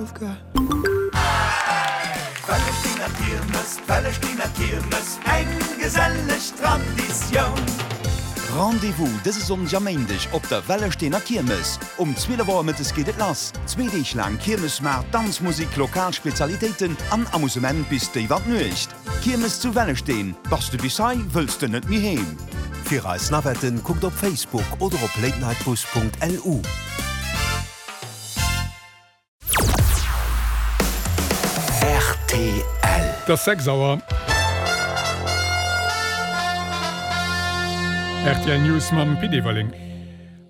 I've got. Wellestener Kiermes, d'Wellestener Kiermes, eng geselleg Traditioun. Rendez-vous dëse Sonndeg a Méindeg op der Wellestener Kiermes. Um 12 Auer mëttes geet et lass. Zwee Deeg laang Kiermesmaart, Danzmusik, lokal Spezialitéiten an Amusement bis déif an d'Nuecht. Kiermes zu Wellesteen, Bass de bis hei, wëlls de net méi heem! Fir eis Navetten kuckt op Facebook oder op latenightbus.lu. Rtl. Et ass 6 Auer. Rtl News mam Pit Everling.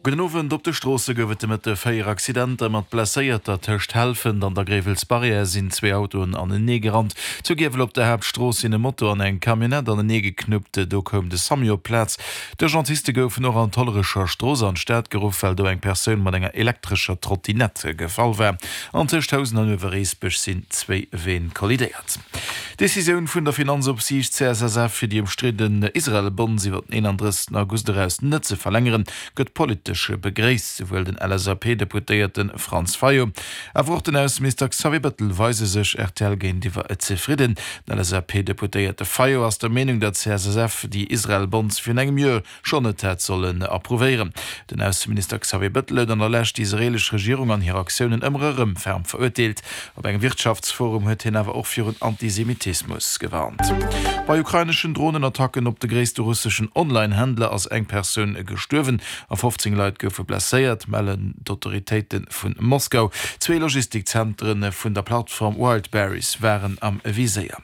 Gudden Owend. Op de Stroosse gouf et de Mëtte 4 Accidenter mat Blesséierter. Tëscht Helfent an der Gréiwelsbarrière sinn zwee Autoen anenee gerannt. Zu Giewel op der Haaptstrooss sinn e Moto an eng Camionnette anenee geknuppt. Do koum de Samu op d'Plaz. D'Urgentiste goufen och an d'Hollerecher Strooss an d'Stad geruff, well do eng Persoun mat enger elektrescher Trottinette gefall war. An tëscht Housen an Uewereesbech sinn zwéi Ween kollidéiert. D'Decisioun vun der Finanzopsiicht CSSF, fir déi ëmstridden Israel-Bonds iwwer den 31 August eraus net ze verlängeren, gëtt politesch begréisst. Souwuel den LSAP-Deputéierte Franz Fayot, awer och den Ausseminister Xavier Bettel weise sech rtl géintiwwer zefridden. Den LSAP-Deputéierte Fayot ass der Meenung, datt d'CSSF déi Israel-Bonds virun engem Joer schonn net hätt sollen approuvéieren. Den Ausseminister Xavier Bettel huet an der Lescht déi israeelesch Regierung an hir Aktiounen ëmmer erëm ferm verurteelt. Op engem Wirtschaftsforum huet hien awer och virun Antisemitismus gewarnt. Bei ukraineschen Dronenattacken op de gréisste russeschen Online-Händler ass eng Persoun gestuerwen a 15 Leit goufe blesséiert, mellen d'Autoritéite vu Moskau. Zwee Logistikzentere vun der Plattform Wildberries waren am Viséier.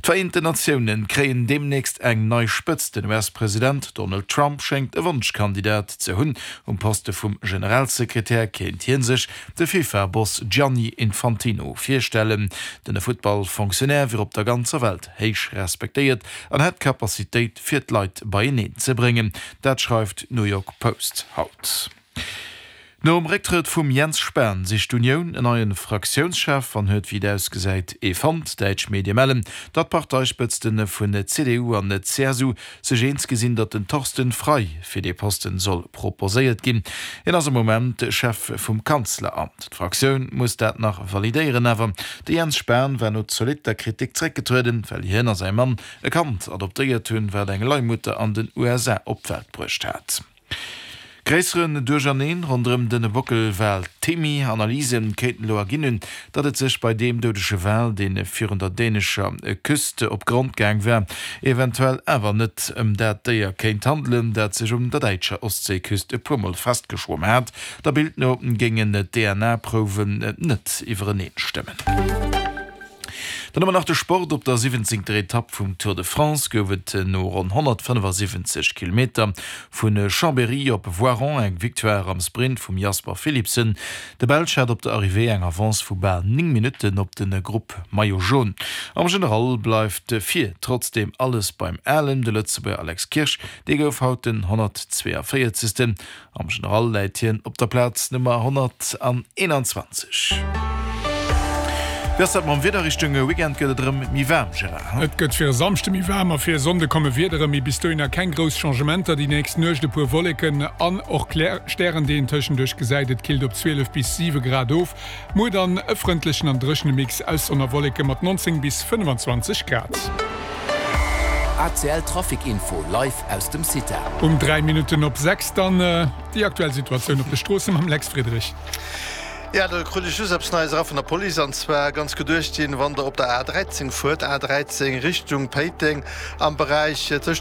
D'Vereenten Natioune kréien deemnächst eng nei Spëtzt. Den US-President Donald Trump schéngt e Wonschkandidat ze hunn. Um Poste vum Generalsekretär kéint hie sech de FIFA-Boss Gianni Infantino virstellen. Den Futtball-Fonctionnaire wier op der ganzer Welt héich respektéiert an hätt d'Capacitéit fir d'Leit beieneen ze bréngen. Dat schreift d'New York Post haut. Nom Récktrëtt vum Jens Spahn sicht d'Unioun en neie Fraktiounschef an huet, wéi et ausgesäit, ee fonnt. Däitsch Medie mellen, datt d'Parteispëtzte vun CDU an CSU sech eens gi sinn, datt den Thorsten Frei fir dee Posten soll proposéiert ginn. Hien ass am Moment Chef vum Kanzleramt. D'Fraktioun muss dat nach validéieren. Awer de Jens Spahn war no zolitter Kritik zeréckgetrueden, well hien a säi Mann e Kand adoptéiert hunn, wat eng Leihmutter an den USA op d'Welt bruecht hat. Gréisseren Duercherneen ronderëm de Bockelwal Timmy. Analyse kéinten elo erginn hunn, datt et sech bei deem doudege Wal, dee virun der dänescher Küst op Grond gaang war, eventuell awer net ëm dat Déier kéint handelen, dat sech un der däitscher Ostséiküst e puer Mol festgeschwomm hat. Der Bild no géingen d'DNA-Prouwen net iwwereneen stëmmen. Dann hu mer nach de Sport, Op der siwwenzéngter Etapp vum Tour de France gouf et no ronn 175 Kilometer vu Chambéry op Voiron eng Victoire am Sprint vum Jasper Philipsen. De Belsch hat op der Arrivée eng Avance vu bal 9 Minutten op de Grupp Maillot Jaune. Am General bleift vir trotzdeem alles beim Alen. De Lëtzebuerger Alex Kirsch, dee gouf haut den 142. Am General läit hien op der Plaz Nummer 121. Wéi ass dat mam Wieder? Richtung Weekend gëtt et erëm méi waarm, Gérard, he? Et gëtt fir e Samschde méi waarm a fir e Sonnde komme Wiedere, mee bis dohinner keng grouss Changementer. Déi nächst Nuecht e puer Wolleken an och klär Stären, déi een tëschenduerch gesäit. Et killt op 12 bis 7 Grad of. Muer dann e frëndlechen an dréchene Mix aus Sonn a Wolleke mat 19 bis 25 Grad. ACL Trafic Info live aus dem CITA. Um 3 Minutten op 6 dann déi aktuell Situatioun op de Stroosse mam Lex Friedrich. Jo, do krut ech just eppes Neies era vun der Police, an zwar ganz geduecht ginn, wann der op der A 13 fuert, A 13 Richtung Péiteng, am Beräich tëscht.